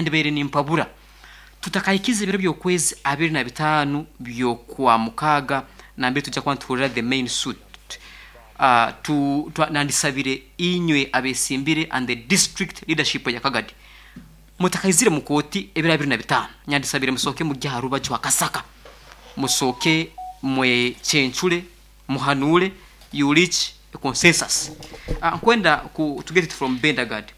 Nyandibaire nimpabura tutakahikize ebiro by'okwezi 25 by'Okwamukaaga nambere tujja kuba nituhurira the main suit. Tu, twa, nandisabire inywe abesimbire and the district leadership ya Kagadi mutakaizire mu kooti ebiro 25, nyandisabire musooke mugye aha rubaju aha kasaka musooke mwecencure, muhanuure, you reach a consensus. Nkwenda ku to get it from Bendagard.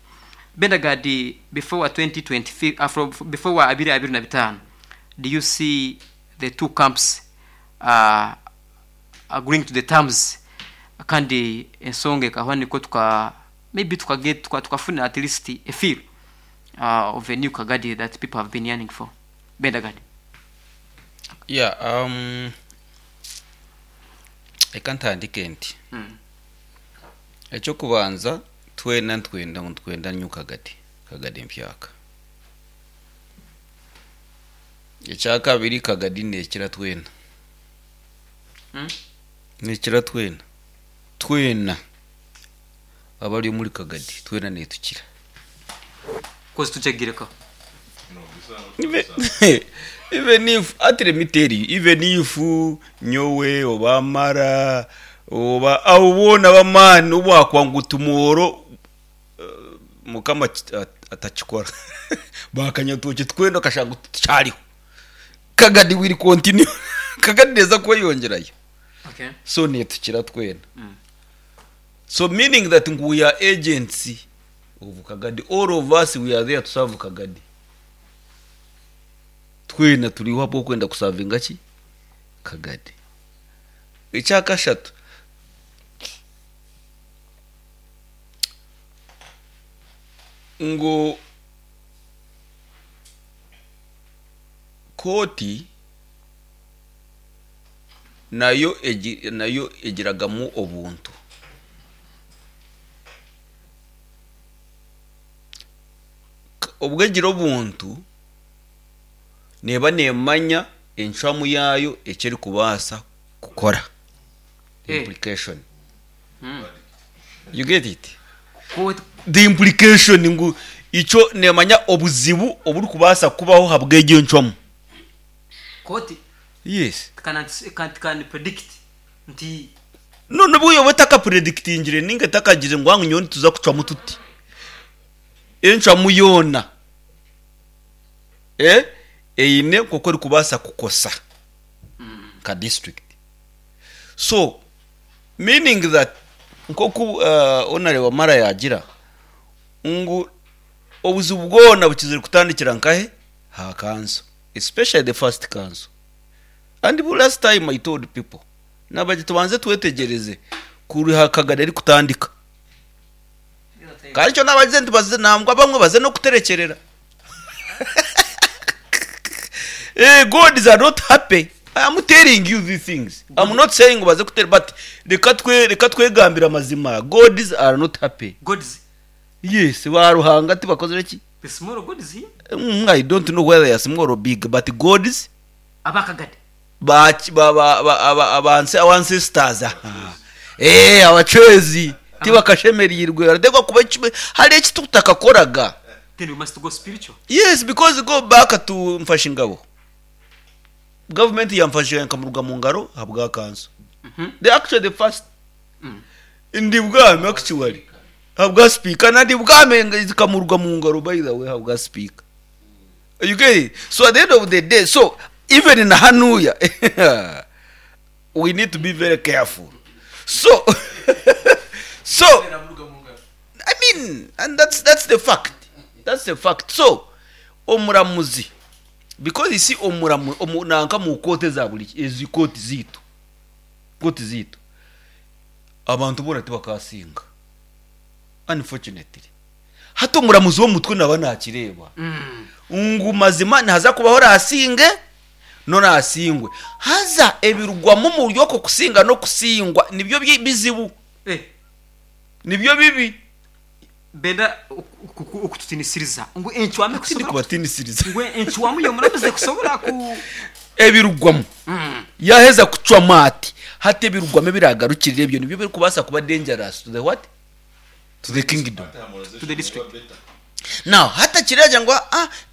Bendagard before 2025, from, before 2025, do you see the two camps agreeing to the terms kandi ensonga ekahwa nikwo tuka maybe tuka get tuka tukafuna at least a feel of a new Kagadi that people have been yearning for? Bendagard. Yeah, reka ntandike nti. Eky'okubanza twena nitwenda ngu nitwenda new Kagadi, Kagadi empyaka. Ekyakabiri Kagadi neekira twena. Neekira twena. Twena abari omuri Kagadi twena neetukira. Kozi tujagireka. Even if, ati let me tell you, even if nyowe oba Mara oba abo boona ab'amaani obu baakuba ngu tomorrow Mukama atakikora baakanyatookye twena okashanga ngu tikyariho, Kagadi will continue, Kagadi neeza kweyongyerayo. Okay. So neetukira twena. So meaning that ngu we are agents of Kagadi, all of us we are there to serve Kagadi. Twena turiho ahabw'okwenda kusavinga ki? Kagadi. Ekyakashatu, ngu kooti nayo egi nayo egiragamu obuntu. Obwo egira obuntu, neeba neemanya encwamu yaayo eki erikubaasa kukora. Implication. You get it? The implication ngu ikyo neemanya obuzibu oburikubaasa kubaho ahabw'egyo encwamu. Kooti Yes. can predict nti. No, n'obu yooba etakapredikitingire nainga etakagizire ngu nyowe nituza kucwamu tuti. Encwamu yoona eine nk'oku erikubaasa kukosa nka disiturikiti. So meaning that nk'oku Honare Wamala yaagira ngu obuzibu bwona bukizire kutandikira nkahe? Aha kanso especially the first kanso. And last time I told people naabagira tubanze twetegyereze kuriha Kagari erikutandika. Kandi ekyo naabagize nti baze nangwa abamwe baze n'okuterekyerera. Eh, Gods are not happy. I am telling you these things. I'm not saying ngu baze kutere but reka twe reka twegambire amazima. Gods are not happy. Gods, Yes, ba Ruhanga tibakozire ki? the small gods here. I don't know whether they are small or big, but gods Abakagadi. ba ba ba ba aba abanse our ancestors aha eh abacwezi tibakashemereirwe barateekwa kuba eki hariho eki tutakakoraga. Then we must go spiritual. Yes because go back to Mfashingabo government ya Mfashingabo ekamuruga mu ngaro ahabwa kanso the actually the first ndi bwami actually ahabwa speaker na ndi bwami zikamuruga mu ngaro by the way ahabwa speaker. You get it? So at the end of the day, so even na hanuya we need to be very careful. So so I mean, and that's the fact. That's the fact. So omuramuzi because you see omuramu omu, nanka mu kooti eza buri ezi kooti ziitu kooti ziitu abantu boona tibakasinga unfortunately. Hati omuramuzi w'omutwe naaba naakireeba ngu mazima nihaza kubaho oraasinge n'oraasingwe. Haza ebirugwamu omuri okwo kusinga n'okusingwa nibyo bizibu. Nibyo bibi. Benda okututinisiriza ngu encwamu Tindi ekusobora kubatinisiriza. Ngu encwamu y'omuramuzi ekusobora ku. Ebirugwamu. Yaaheza kucwamu ati, hati ebirugwamu ebiraagarukirira ebyo nibyo birikubaasa kuba dangerous to the what? To the kingdom. To the district. Now, hati akiragira ngu ah,